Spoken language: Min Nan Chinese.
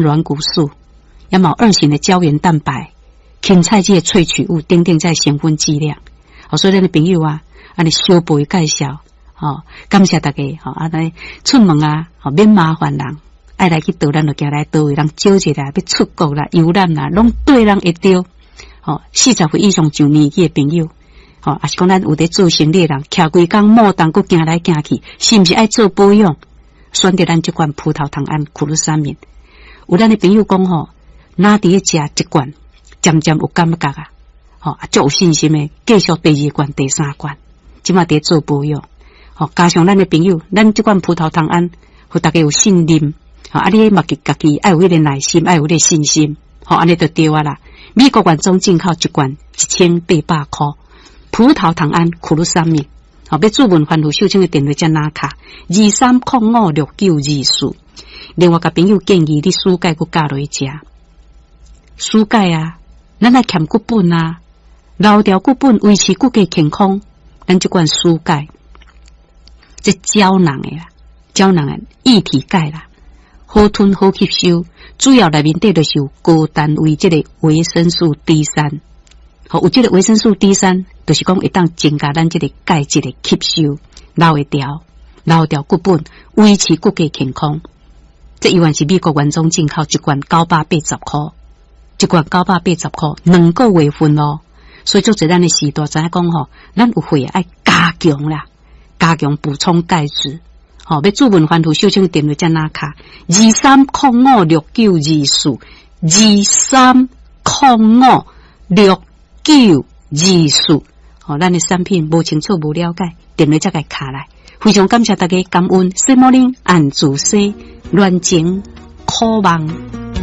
軟骨素，也嘛有二型的膠原蛋白、芹菜這个萃取物等等這成分劑量。哦，所以咱的朋友啊，按呢小步介紹，吼，感謝大家，吼，按呢出門啊，吼，免麻煩人，愛來去佗咱就行來佗位，人招一下，欲出國啦、遊覽啦，攏綴人會著。吼，40歲以上上年紀的朋友，吼，抑是講咱有佇做生理的人，徛規工莫動，閣行來行去，是毋是愛做保養？選擇咱這款葡萄糖胺苦魯三明。有咱的朋友講吼，若佇咧食一罐，漸漸有感覺啊，吼，足有信心的，繼續第二罐、第三罐，這馬佇做保養。吼，加上咱的朋友，咱這款葡萄糖胺，予大家有信任，吼，啊，你嘛家己愛有彼個耐心，愛有彼個信心，吼，按呢就對啊啦。美國原裝進口一罐1800箍，葡萄糖胺苦魯三明，吼，欲注文番予秀清的電話才拿卡23056924。另外，共朋友建議你暑假閣加落去食。暑假啊，咱愛儉骨本啊，留牢骨本，維持骨骼健康。咱這罐暑鈣，這膠囊的啦，膠囊的液體鈣啦，好吞好吸收。主要內面底就是有高單位這個維生素 D 三，好，有這個維生素 D 三，就是講會當增加咱這個鈣質的吸收，留會牢，留牢骨本，維持骨骼健康。這依然是美國原裝進口，一罐980箍，一罐九百八十箍，2個月份咯。所以做這咱的時代，知影講吼，咱有會愛加強啦，加強補充鈣質。吼，欲注文番予秀清電話才拿卡23056924，23056924。吼，咱的產品無清楚無了解，電話才共敲來。非常感謝大家感恩，西摩林按主西亂情渴望。